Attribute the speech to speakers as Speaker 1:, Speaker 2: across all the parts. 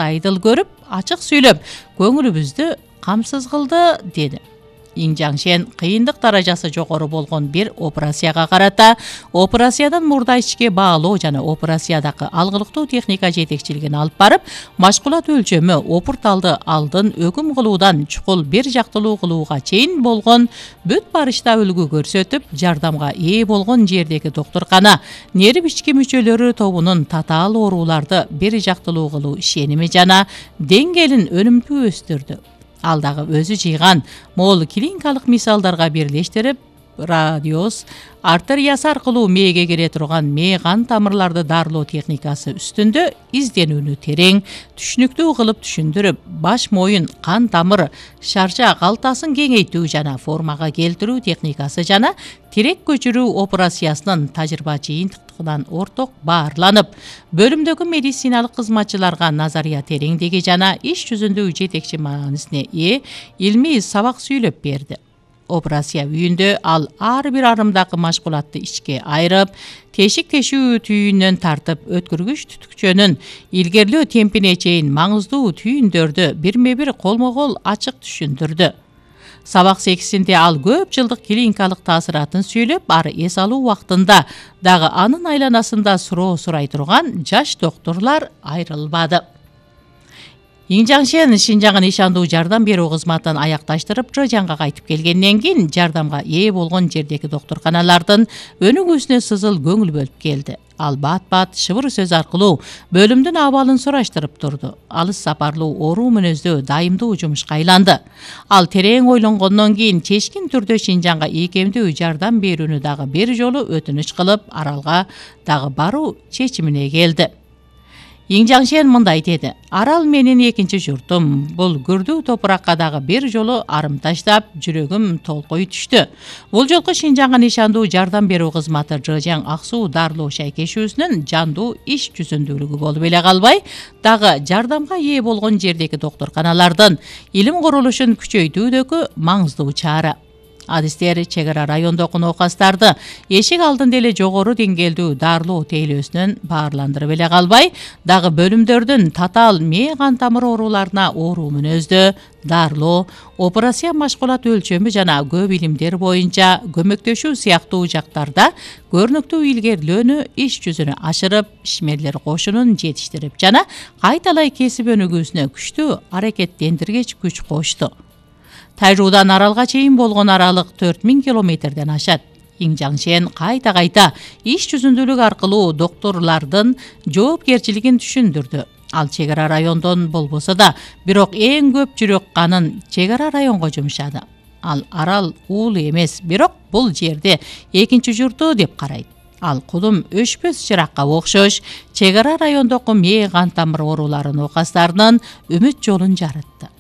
Speaker 1: айдыл көрүп, ачык сүйлөп, көңүлүбүздү камсыз кылды, деди. Иң Жаңшен кыйындык даражасы жогору болгон бир операцияга карата операциядан мурда ичке баалоо жана операциядагы алгылыктуу техника жетекчилигин алып барып, машкулат өлчөмү, опурталды алдын өкүм кылуудан чукул бир жактылуу кылууга чейин болгон бүт барышта үлгү көрсөтүп, жардамга ээ болгон жердеги доктуркана нерв ички мүчөлөрү тобунун татаал ооруларды бир жактылуу кылуу ишеними жана деңгээлин өнүмдүү өстүрдү. Ал дагы өзү жыйган мол клиникалык мисалдарга бирлештирип, радиоз артериясы аркылуу мээге келе турган мээ кан тамырларды дарылоо техникасы үстүндө изденүүнү терең, түшүнүктүү кылып түшүндүрүп, баш моюн кан тамыр шарча калтасын кеңейтүү жана формага келтирүү техникасы жана тирек көчүрүү операциясынын тажрыйба жыйынтыктыгынан орток баарланып, бөлүмдөгү медициналык кызматчыларга назария тереңдиги жана иш жүзүндө жетекчи маанисине ээ илмий сабак сүйлөп берди. Операция үйүндө ал ар бир арымдагы машкулатты ичке айрып, тешик тешүү түйүнөн тартып, өткөргүч түтүкчөнүн илгерлөө темпине чейин маңыздуу түйүндөрдү бирме-бир колмо-кол ачык түшүндүрдү. Сабак сексинде ал көп жылдык клиникалык таасыратын сүйлөп, ары эс алуу убактында дагы анын айланасында суроо сурай турган жаш доктурлар айрылбады. Иң Жаңшен Шинжаңдын ишандуу жардам берүү кызматын аякташтырып, Жожанга кайтып келгенден кийин жардамга ээ болгон жердеги доктурканалардын өнүгүүсүнө сызыл көңүл бөлүп келди. Ал бат-бат шыбыр сөз аркылуу бөлүмдүн абалын сураштырып турду. Алыс сапарлуу оору мүнөздүү дайымдуу жумушка айланды. Ал терең ойлонгондон кийин чечкин түрдө Шинжаңга ийкемдүү жардам берүүнү дагы бир жолу өтүнүч кылып, Аралга дагы баруу чечимине келди. Иң Жаңшен мындай деди: "Арал менин экинчи журтум. Бул күрдүү топуракка дагы бир жолу арым таштап, жүрөгүм толкой түштү. Бул жолку Шинжаңдын ишандуу жардам берүү кызматы Жожаң ак суу дарылоо шайкешүүсүнүн жандуу иш жүзүндүүлүгү болуп эле калбай, дагы жардамга ээ болгон жердеги доктурканалардын илим курулушун күчөйтүүдөгү маңыздуу чара. Адистер чек ара райондогу оокастарды эшик алдында эле жогору деңгээлдүү дарылоо тейлөөсүнөн баарландырып эле калбай, дагы бөлүмдөрдүн татаал мээ кан тамыр ооруларына оору мүнөздө дарылоо, операция машкулат өлчөмү жана көп илимдер боюнча көмөктөшүү сыяктуу жактарда көрүнүктүү илгерилөөнү иш жүзүнө ашырып, ишмерлер кошунун жетиштирип жана кайталай кесип өнүгүүсүнө күчтүү аракеттендиргич күч кошту. Тайжуудан Аралга чейин болгон аралык 4000 километрден ашат. Иң Жаңшен кайта-кайта иш жүзүндүүлүк аркылуу доктурлардын жоопкерчилигин түшүндүрдү. Ал чек ара райондон болбосо да, бирок эң көп жүрөк канын чек ара районго жумшады. Ал Арал уулу эмес, бирок бул жерде экинчи журту деп карайт. Ал кудум өшпөс чыракка окшош чек ара райондогу мээ кан тамыр ооруларынын оокастарынын үмүт жолун жарытты.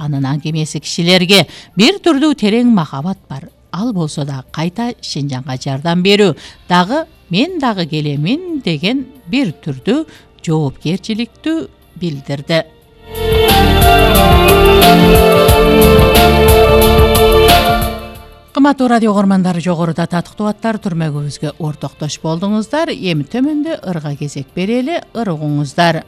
Speaker 1: Анын аңгемеси кишилерге бир түрдүү терең махабат бар. Ал болсо да кайта Шинжаңга жардам берүү, дагы мен дагы келемин деген бир түрдүү жоопкерчиликти билдирди. Кымбаттуу радио угармандары, жогоруда татыктуу аттар түрмөгүбүзгө ортоктош болдуңуздар. Эми төмөндө ырга кезек берели, ыр угуңуздар.